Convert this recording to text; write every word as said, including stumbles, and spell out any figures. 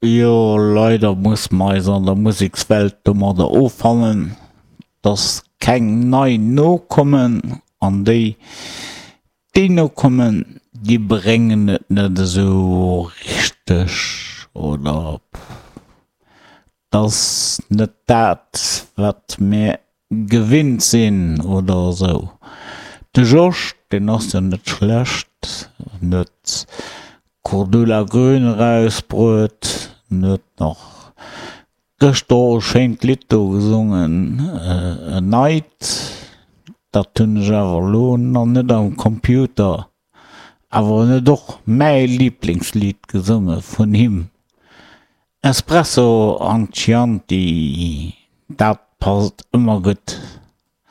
Jo, leider muss mer eis an der Musekswelt domadder offannen, dass keng nei nokommen an déi, déi nokommen, déi bréngen et net esou richteg oder t'ass net dat, wat mir gewinnt sinn oder esou. De Georges, deen ass jo net schlecht, en huet Cordula Grün erausbruet, en huet nach gëschter och e schéint Lidd do gesongen, en neit, dat hunn ech awer elo nach net am Computer, awer en huet och mäi Liblingslidd gesonge vun him, Espresso an Chianti, dat passt ëmmer gutt.